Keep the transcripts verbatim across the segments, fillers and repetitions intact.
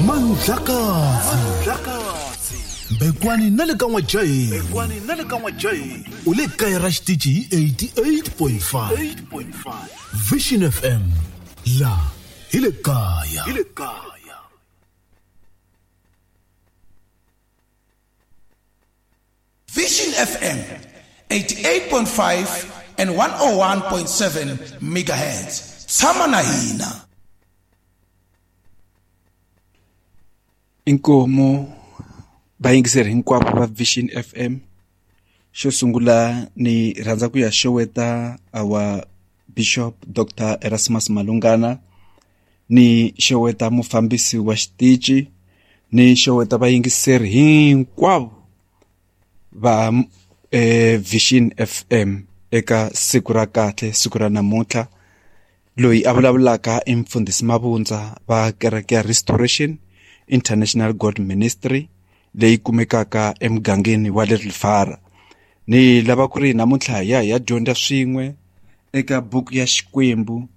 Mandlakazi Bekwani na le ka N'wajahi Bekwani na le ka N'wajahi u le kaya ra xitichi hi eighty-eight point five Vision F M la hi le kaya hi le kaya. Vision F M eighty-eight point five and one oh one point seven megahertz. Tshama na hina. Inkomo vayingiseri hinkwavo va Vision F M. Xo sungula ni rhandza ku ya xeweta our Bishop Doctor Erasmus Malungana, ni xeweta mufambisi wa xitichi, ni xeweta vayingiseri hinkwavo va eh, Vision F M eka siku ra kahle, siku ra namuntlha. Loyi a vulavulaka i Mfundhisi Mabundza va kereke ya Restoration International God Ministry leyi kumekaka emugangeni wa le Rifara. Ni lava ku ri namuntlha ya ya dyondza swin'we eka buku ya Xikwembu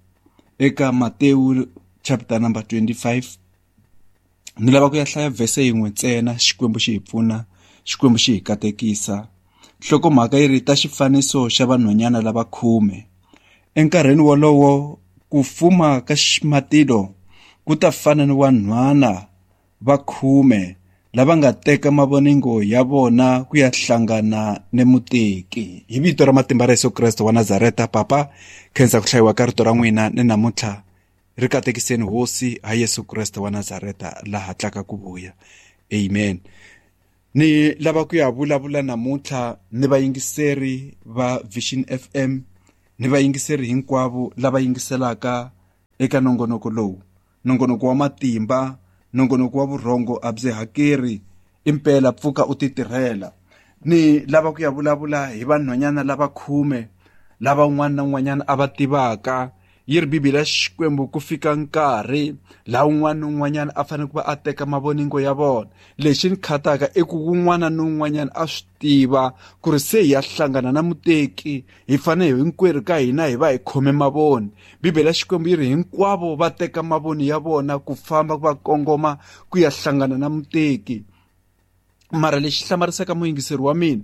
eka Matewu chapter number twenty-five. Ni lava ku ya hlaya verse yin'we ntsena, Xikwembu xi hi pfuna, Xikwembu xi hi katekisa. Nhlokomhaka yi ri ta xifaniso xa vanhwanyana lava khume. Enkarhini wolowo ku fuma ka matilo ku ta fana ni vanhwana va khume lava nga teka mavoningo ya vona ku ya hlangana ni muteki. Hi vito ra matimba ra Yesu Kreste wa Nazareta, Papa, khensa ku hlayiwa ka rito ra n'wina ni namuntlha ri katekiseni Hosi ha Yesu Kreste wa Nazareta la hatlaka ku vuya. Amen. Ni lava ku ya vulavula namuntlha ni vayingiseri va Vision F M, ni vayingiseri hinkwavo lava yingiselaka eka nongonoko lowu, nongonoko wa matimba, nongonoko wa vurhongo a byi hakeri, impela pfuka u titirhela. Ni lava ku ya vulavula hi vanhwanyana lava khume lava un'wana na un'wanyana a va tivaka. Yi ri Bibele ya Xikwembu ku fika nkarhi laha un'wana na un'wanyana a fanele ku va a teka mavoningo ya vona. Lexi ni khataka i ku un'wana na un'wanyana a swi tiva ku ri se hi ya hlangana na muteki, hi fanele hinkwerhu ka hina hi va hi khome mavoni. Bibele ya Xikwembu yi ri hinkwavo va teka mavoni ya vona ku famba va kongoma ku ya hlangana na muteki. Mara lexi hlamarisaka muyingiseri wa mina,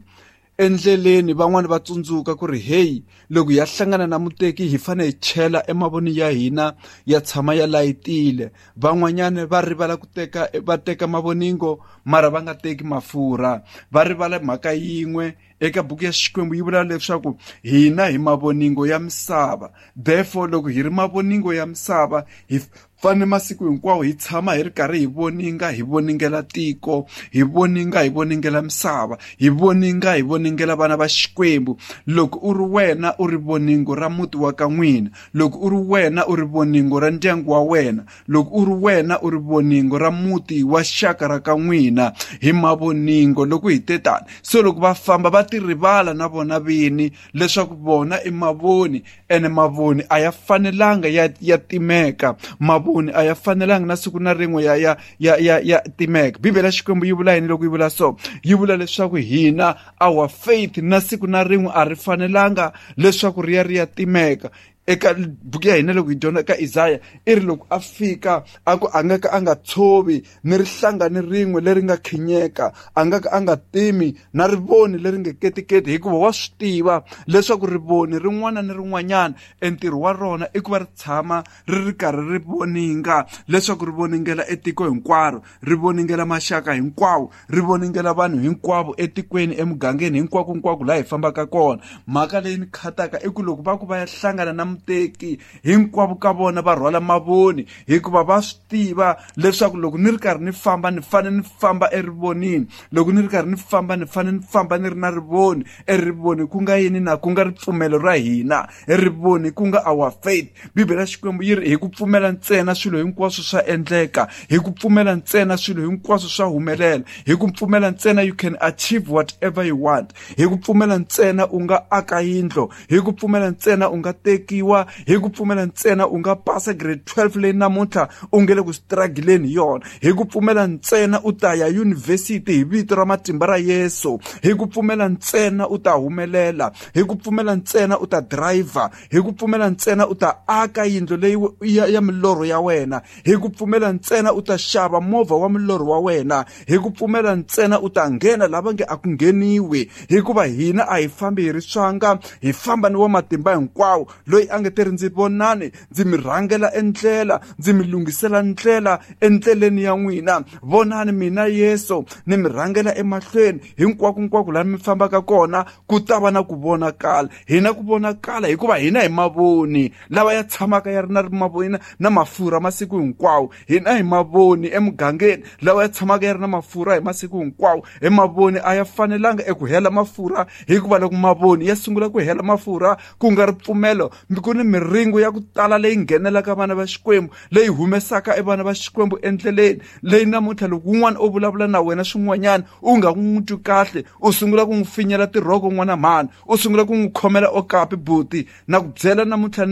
endleleni van'wani va tsundzuka ku ri hey, loko ya hlangana na muteki hi fanele hi chela emavoni ya hina ya tshama ya layitile. Van'wanyana va rivala ku teka, va teka mavoningo mara va nga teki mafurha. Va rivala mhaka yin'we eka buku ya Xikwembu yi vula leswaku hina hi mavoningo ya misava. Therefore loko hi ri mavoningo ya misava hi fanele masiku hinkwawo hi tshama hi ri karhi hi voninga, hi voningela tiko, hi voninga, hi voningela misava, hi voninga, hi voningela vana va Xikwembu. Loko u ri wena u ri voningo ra muti wa ka n'wina, loko u ri wena u ri voningo ra ndyangu wa wena, loko u ri wena u ri voningo ra muti wa xaka ra ka n'wina, hi mavoningo loko hi tetana. So loko va famba va ti rivala na vona vini leswaku vona i mavoni, ene mavoni a ya fanelanga ya ya timeka. Mavoni a ya fanelanga na siku na rin'we ya ya ya ya ya timeka. Bibele ya Xikwembu yi vula yini loko yi vula so? Yi vula leswaku hina our faith na siku na rin'we a ri fanelanga leswaku ri ya ri ya timeka. Eka buku ya hina loko hi dyondza eka Isaya i ri loko a fika a ku a nga ka a nga tshovi ni rihlanga ni rin'we leri nga khinyeka, a nga ka a nga timi na rivoni leri nge ketiketi, hikuva wa swi tiva leswaku rivoni rin'wana ni rin'wanyana entirho wa rona i ku va ri tshama ri ri karhi ri voninga, leswaku ri voningela etiko hinkwaro, ri voningela maxaka hinkwawo, ri voningela vanhu hinkwavo etikweni, emugangeni, hinkwako hinkwako laha hi fambaka kona. Mhaka leyi ni khataka i ku loko va ku va ya hlangana na muteki hinkwavo ka vona va rhwala mavoni, hikuva va swi tiva leswaku loko ni ri karhi ni famba ni fanele ni famba erivonini, loko ni ri karhi ni famba ni fanele ni famba ni ri na rivoni. Erivoni ku nga yini na? Ku nga ripfumelo ra hina, erivoni ku nga our faith. Bibele ya Xikwembu yi ri hi ku pfumela ntsena swilo hinkwaswo swa endleka, hi ku pfumela ntsena swilo hinkwaswo swa humelela, hi ku pfumela ntsena you can achieve whatever you want, hi ku pfumela ntsena u nga aka yindlo, hi ku pfumela ntsena u nga tekiwa hanyisiwa, hi ku pfumela ntsena u nga pasa grade twelve leyi namuntlha u nge le ku struggleni hi yona, hi ku pfumela ntsena u ta ya yunivhesiti hi vito ra matimba ra Yesu, hi ku pfumela ntsena u ta humelela, hi ku pfumela ntsena u ta driver, hi ku pfumela ntsena u ta aka yindlu leyi ya, ya milorho ya wena, hi ku pfumela ntsena u ta xava movha wa milorho wa wena, hi ku pfumela ntsena u ta nghena lava nge a ku ngheniwi, hikuva hina a hi fambi hi ri swanga, hi famba ni wa matimba hinkwawo loyi a nge te ri ndzi vonani, ndzi mi rhangela endlela, ndzi mi lunghisela ndlela endleleni ya n'wina. Vonani mina Yesu ni mi rhangela emahlweni, hinkwako hinkwako laha mi fambaka kona ku ta va na ku vonakala. Hina ku vonakala hikuva hina hi mavoni lava ya tshamaka ya ri na mavoni na mafurha masiku hinkwawo. Hina hi mavoni emugangeni lawa ya tshamaka ya ri na mafurha hi masiku hinkwawo. Hi mavoni a ya fanelanga eku hela mafurha, hikuva loko mavoni ya sungula ku hela mafurha ku nga ri pfumelo, ku ni miringo ya ku tala leyi nghenelaka vana va Xikwembu, leyi humesaka e vana va Xikwembu endleleni leyi namuntlha loko un'wana o vulavula na wena swin'wanyana u nga n'wi twi kahle, u sungula ku n'wi finyela tirhoko n'wana mhani, u sungula ku n'wi khomela okapi buti. Na ku byela namuntlha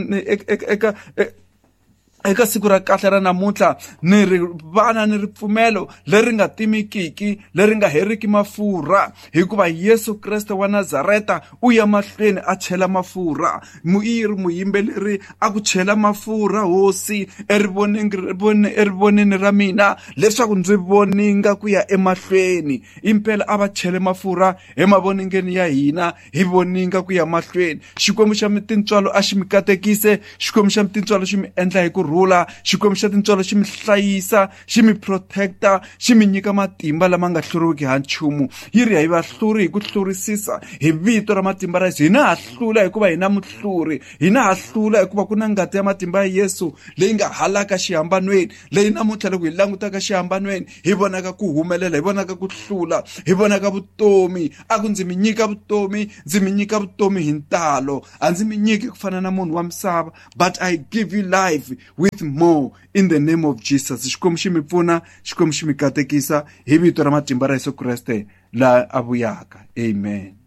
eka eka siku ra kahle ra namuntlha ni ri vana ni ripfumelo leri nga timikiki, leri nga heriki mafurha, hikuva Yesu Kreste wa Nazareta u ya mahlweni a chela mafurha. Muyiri muyimbeleri a ku chela mafurha hosi erivonini erivonini ra mina leswaku ndzi voninga ku ya emahlweni. Impela a va chele mafurha emavoningeni ya hina, hi voninga ku ya mahlweni. Xikwembu xa tintswalo a xi mi katekise, Xikwembu xa tintswalo xi mi endla hi ku rhula, Xikwembu xa tintswalo xi mi hlayisa, xi mi protecta, xi mi nyika matimba lama nga hluriwiki ha nchumu. Yi ri hi vahluri hi ku hlurisisa hi vito ra matimba ra Yesu. Hina ha hlula hikuva hina muhluri, hina ha hlula hikuva ku na ngati ya matimba ya Yesu leyi nga halaka xihambanweni, leyi namuntlha loko hi langutaka xihambanweni hi vonaka ku humelela, hi vonaka ku hlula, hi vonaka vutomi. A ku ndzi mi nyika vutomi, ndzi mi nyika vutomi hi ntalo, a ndzi mi nyiki ku fana na munhu wa misava, but I give you life with more in the name of Jesus. Xikwembu xi mi pfuna, Xikwembu xi mi katekisa hi vito ra matimba ra Yesu Kreste la a vuyaka. Amen.